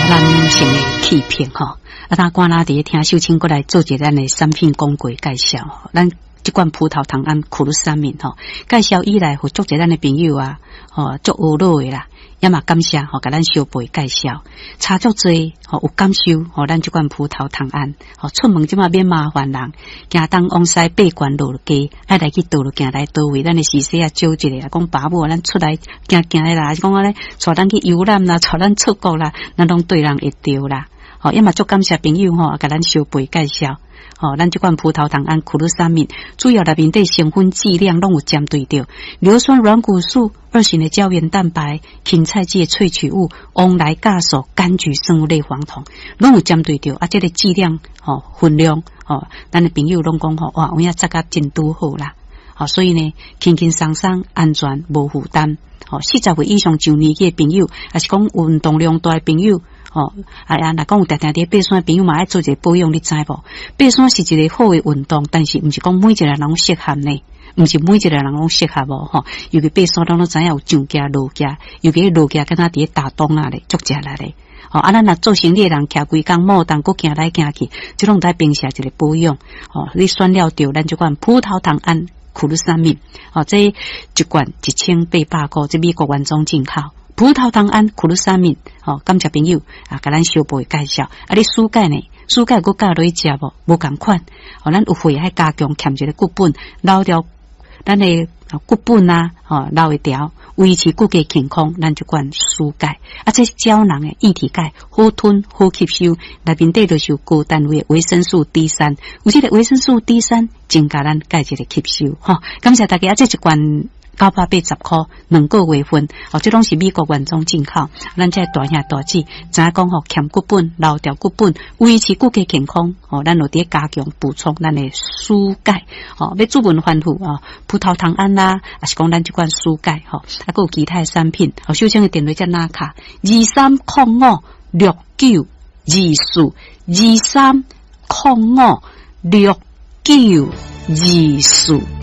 咱女性的氣魄吼。啊，當官拉佇咧聽秀清閣來做一個咱的產品廣告介紹，咱這罐葡萄糖胺苦魯三敏吼，介紹以來，予足濟咱的朋友啊，吼，足學樂的啦，也嘛感謝吼，共咱相背介紹，差足濟吼，有感受吼，咱這罐葡萄糖胺吼，出門這馬免麻煩人，行東往西爬懸落低，愛來去佗落行來佗位，咱的時勢啊招一下，講爸母咱出來行行的啦，還是講按呢，帶咱去遊覽啦，帶咱出國啦，咱攏對人會著啦。吼，也嘛足感謝朋友吼，共咱相背介紹。吼，咱這款葡萄糖胺苦魯三敏，主要內面底成分劑量攏有針對著硫酸軟骨素、二型的膠原蛋白、芹菜籽的萃取物、黃來酵素、柑橘生物類黃酮，攏有針對著。啊，這個劑量吼分量吼，咱的朋友攏講吼，哇，有影食甲真拄好啦。吼，所以呢，輕輕鬆鬆、安全、無負擔。吼，40歲以上上年紀的朋友，抑是講運動量大的朋友。吼，啊啊，若講有定定佇爬山的朋友嘛，愛做一個保養，你知無？爬山是一個好的運動，但是毋是講每一個人攏適合呢，毋是每一個人攏適合哦，吼。尤其爬山，咱攏知影有上行落行，尤其落行敢若佇咧打樁仔咧，足食力咧。吼，啊，咱若做生理的人，徛規工耄動，閣行來行去，這攏愛平時一個保養。吼，你選了著咱這款葡萄糖胺苦魯三敏，吼，這一罐1800箍，這美國原裝進口。葡萄糖胺苦魯三敏，吼，感謝朋友啊，共咱小步介紹。啊，你舒鈣呢？舒鈣閣加落去食無？無仝款。吼，咱有會愛加強，欠一個骨本，留掉咱的骨本啊，吼，留會牢，維持骨骼健康，咱就灌舒鈣。啊，這膠囊的液體鈣，好吞好吸收，內面底就是有高單位的維生素 D3，有這個維生素 D3，增加咱鈣質的吸收。吼，感謝大家，啊，這一罐980箍，2個月份，哦，這攏是美國原裝進口。咱這大兄大姊，知影講吼，欠骨本，留牢骨本，維持骨骼健康，哦，咱有佇加強補充咱的舒鈣，吼，欲主文吩咐哦，葡萄糖胺啦，抑是講咱這款舒鈣，吼，啊，閣有其他的產品，哦，秀清的電話遮拿卡，23056924，23056924。